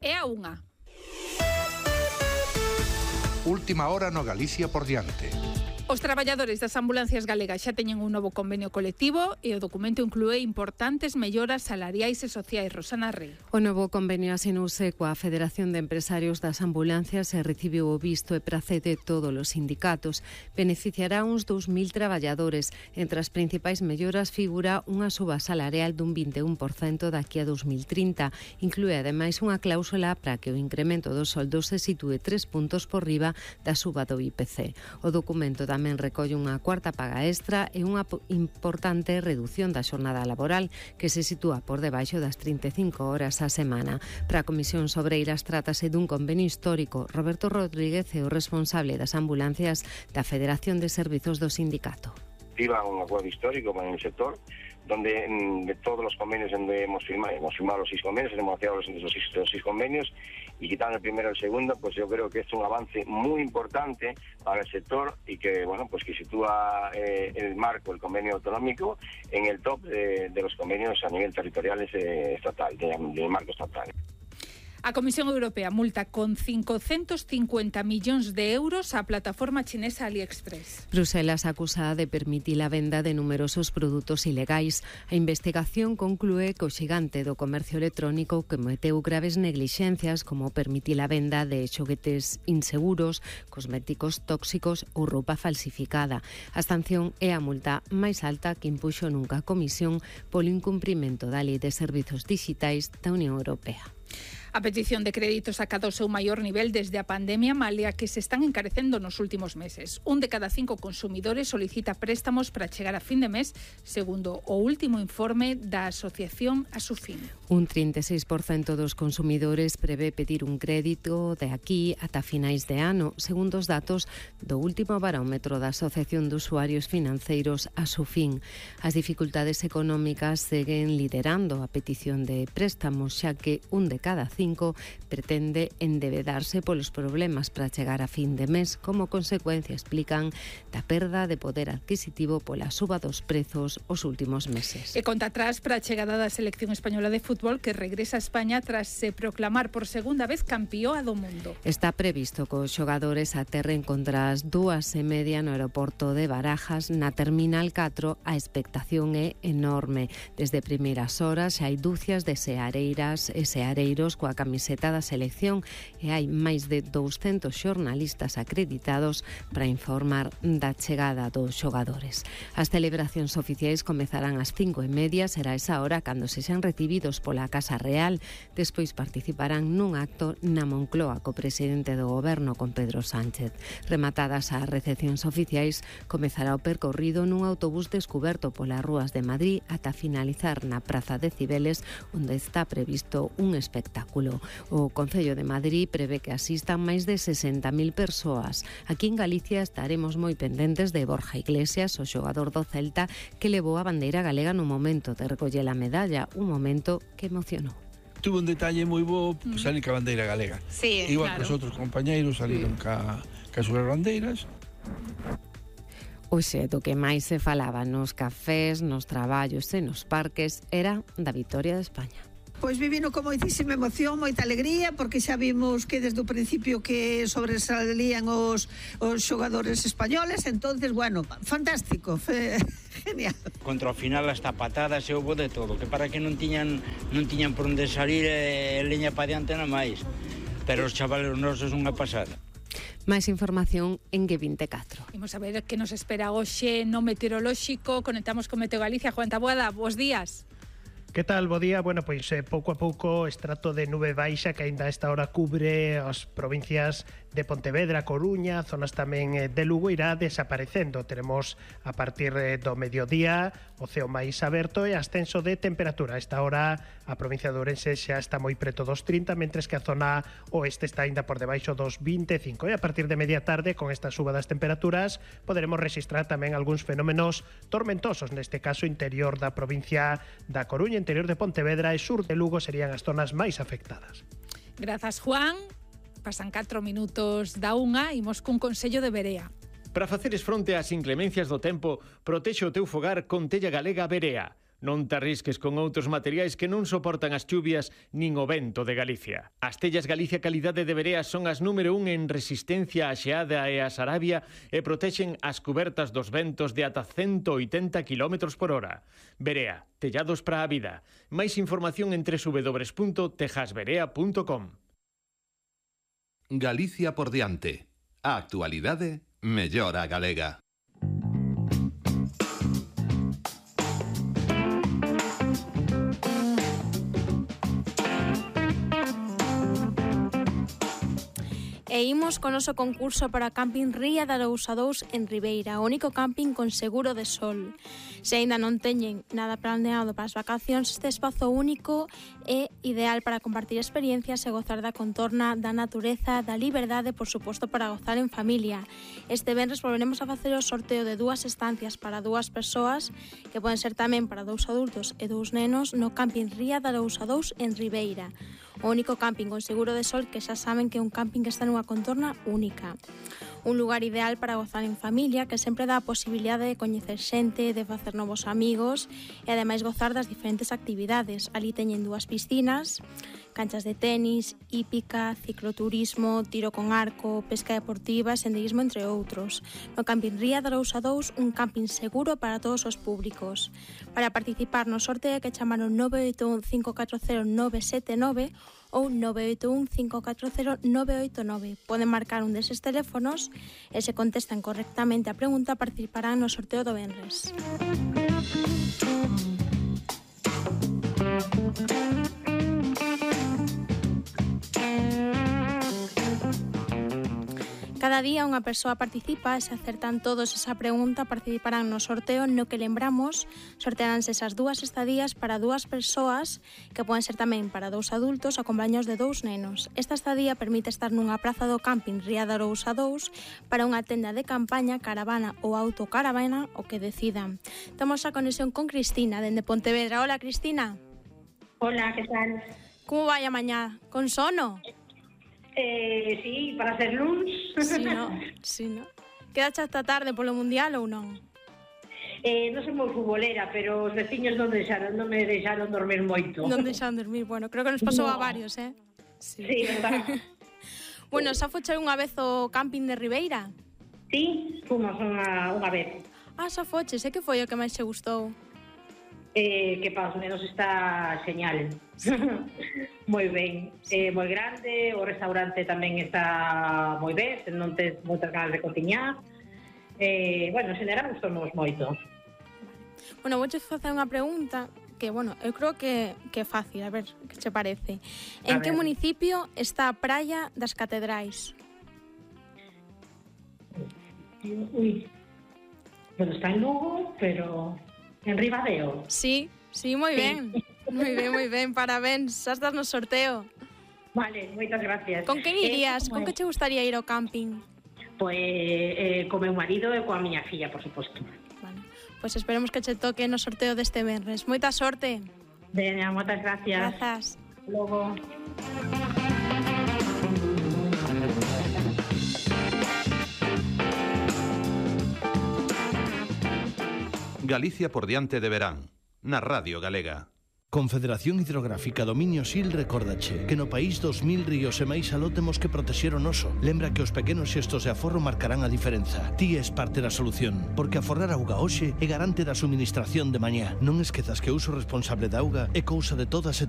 é a 1. Última hora no Galicia por diante. Os traballadores das ambulancias galegas xa teñen un novo convenio colectivo e o documento inclúe importantes melloras salariais e sociais. Rosana Rey. O novo convenio asinouse coa Federación de Empresarios das Ambulancias e recibiu o visto e prace de todos os sindicatos. Beneficiará uns 2.000 traballadores. Entre as principais melloras figura unha suba salarial dun 21% daqui a 2030. Inclúe ademais unha cláusula para que o incremento dos soldos se sitúe 3 puntos por riba da suba do IPC. O documento tamén recolle unha cuarta paga extra e unha importante redución da xornada laboral que se sitúa por debaixo das 35 horas á semana. Para a Comisión Sobreiras trátase dun convenio histórico. Roberto Rodríguez é o responsable das ambulancias da Federación de Servizos do sindicato. Viva un acuerdo histórico con el sector, donde de todos los convenios donde hemos firmado los 6 convenios, hemos negociado los 6 convenios, y quitando el primero y el segundo, pues yo creo que es un avance muy importante para el sector y que, bueno, pues que sitúa el marco, el convenio autonómico, en el top de los convenios a nivel territorial estatal, del marco estatal. A Comisión Europea multa con 550 millóns de euros a plataforma chinesa AliExpress. Bruselas acusa de permitir a venda de numerosos produtos ilegais. A investigación conclúe que o xigante do comercio electrónico cometeu graves neglixencias como permitir a venda de xoguetes inseguros, cosméticos tóxicos ou roupa falsificada. A sanción é a multa máis alta que impuxo nunca a Comisión polo incumprimento da Lei de Servizos Digitais da Unión Europea. A petición de créditos acadou o seu maior nivel desde a pandemia, malia que se están encarecendo nos últimos meses. 1 de cada 5 consumidores solicita préstamos para chegar a fin de mes, segundo o último informe da Asociación Asufin. Un 36% dos consumidores prevé pedir un crédito de aquí ata finais de ano, segundo os datos do último barómetro da Asociación de Usuarios Financeiros Asufin. As dificultades económicas seguen liderando a petición de préstamos, xa que 1 de cada 5 pretende endebedarse polos problemas para chegar a fin de mes, como consecuencia, explican, da perda de poder adquisitivo pola suba dos prezos os últimos meses. E conta atrás para a chegada da selección española de fútbol que regresa a España tras se proclamar por segunda vez campeoa do mundo. Está previsto que os xogadores aterren contra as 2:30 no aeroporto de Barajas, na Terminal 4. A expectación é enorme. Desde primeiras horas hai dúcias de seareiras e seareiros coa camiseta da selección e hai máis de 200 xornalistas acreditados para informar da chegada dos xogadores. As celebracións oficiais comezarán ás 5:30, será esa hora cando sexan recibidos pola Casa Real. Despois participarán nun acto na Moncloa co presidente do Goberno, con Pedro Sánchez. Rematadas as recepcións oficiais, comezará o percorrido nun autobús descuberto polas rúas de Madrid ata finalizar na Praza de Cibeles, onde está previsto un espectáculo. O Concello de Madrid prevé que asistan máis de 60.000 persoas. Aquí en Galicia estaremos moi pendentes de Borja Iglesias, o xogador do Celta, que levou a bandeira galega no momento de recoller a medalla, un momento que emocionou. Tuvo un detalle moi bo, salir ca bandeira galega. Sí, igual claro. Que os outros compañeiros saliron ca súas bandeiras. Hoxe do que máis se falaba nos cafés, nos traballos e nos parques era da vitoria de España. Pois vivino con moitísima emoción, moita alegría, porque xa vimos que desde o principio que sobresalían os xogadores españoles, entonces, bueno, fantástico, genial. Contra o final hasta patadas e houbo de todo, que para que non tiñan por onde salir leña pa diante na máis, pero os chavales nosos unha pasada. Máis información en G24. Imos a ver que nos espera hoxe no meteorolóxico. Conectamos con Meteo Galicia. Juan Taboada, bos días. Que tal, bo día? Bueno, pois pouco a pouco estrato de nube baixa que aínda a esta hora cubre as provincias de Pontevedra, Coruña, zonas tamén de Lugo, irá desaparecendo. Teremos a partir do mediodía o ceo máis aberto e ascenso de temperatura. A esta hora a provincia de Ourense xa está moi preto dos 30, mentres que a zona oeste está aínda por debaixo dos 25. E a partir de media tarde, con esta suba das temperaturas, poderemos registrar tamén algúns fenómenos tormentosos, neste caso interior da provincia da Coruña, interior de Pontevedra e sur de Lugo serían as zonas máis afectadas. Grazas, Juan. Pasan 4 minutos da 1, imos cun consello de Berea. Para faceres fronte ás inclemencias do tempo, protexe o teu fogar con tella galega Berea. Non te arrisques con outros materiais que non soportan as chuvias nin o vento de Galicia. As tellas Galicia Calidade de Verea son as número 1 en resistencia á xeada e á sarabia e protexen as cubertas dos ventos de ata 180 km por hora. Verea, tellados para a vida. Máis información en www.tejasverea.com. Galicia por diante. A actualidade mellora a galega. E imos con noso concurso para Camping Ría de Arousa 2 en Ribeira, o único camping con seguro de sol. Se aínda non teñen nada planeado para as vacacións, este espazo único é ideal para compartir experiencias e gozar da contorna, da natureza, da liberdade, por suposto para gozar en familia. Este venres volveremos a facer o sorteo de 2 estancias para 2 persoas, que poden ser tamén para 2 adultos e 2 nenos, no Camping Ría de Arousa 2 en Ribeira. O único camping con seguro de sol, que xa saben que é un camping que está nunha contorna única. Un lugar ideal para gozar en familia, que sempre dá a posibilidade de coñecer xente, de facer novos amigos e ademais gozar das diferentes actividades. Ali teñen 2 piscinas, canchas de tenis, hípica, cicloturismo, tiro con arco, pesca deportiva e senderismo, entre outros. No Camping Ría de Arousa 2, un camping seguro para todos os públicos. Para participar no sorteo que chamaron 981 540 979 ou 981 540 989. Poden marcar un deses teléfonos e se contestan correctamente a pregunta participarán no sorteo do venres. Cada día unha persoa participa e se acertan todos esa pregunta participarán no sorteo no que lembramos sortearánse esas 2 estadías para 2 persoas que poden ser tamén para 2 adultos acompañados de 2 nenos. Esta estadía permite estar nunha praza do camping Ría de Arousa 2 para unha tenda de campaña, caravana ou autocaravana, o que decidan. Temos a conexión con Cristina dende Pontevedra. Hola, Cristina. Hola, que tal? Como vai a mañá? Con sono? Sí, para ser luns. Sí, no. Quedaste hasta tarde polo Mundial ou non? Non son moi futbolera, pero os veciños non me deixaron dormir moito. Non deixaron dormir, bueno, creo que nos pasou a varios, Sí, verdad. Bueno, xa foche unha vez o camping de Ribeira? Sí, fomos unha vez. Xa foches, que foi o que máis che gustou? Que para os nenos está xeñal. Moi ben, moi grande, o restaurante tamén está moi ben, non tes moitas ganas de cociñar. Bueno, en xeral gustamos moito. Bueno, vouche facer unha pregunta que, bueno, eu creo que é fácil, a ver que che parece. En que municipio está a Praia das Catedrais? Bueno, está en Lugo, pero en Ribadeo. Sí, moi ben. Moi ben, parabéns. Xa estás no sorteo. Vale, moitas gracias. Con quen irías? Con que che gustaría ir ao camping? Pois co meu marido e coa miña filla, por suposto. Vale, pois esperemos que che toque no sorteo deste venres. Moita sorte. Veña, moitas gracias. Grazas. Logo. Galicia por diante de verán, na Radio Galega. Confederación Hidrográfica Dominio Sil recórdache que no país 2000 ríos e máis aló temos que protexer o noso. Lembra que os pequenos xestos de aforro marcarán a diferenza. Ti és parte da solución, porque aforrar auga hoxe é garante da suministración de mañá. Non esquezas que o uso responsable da auga é cousa de todas e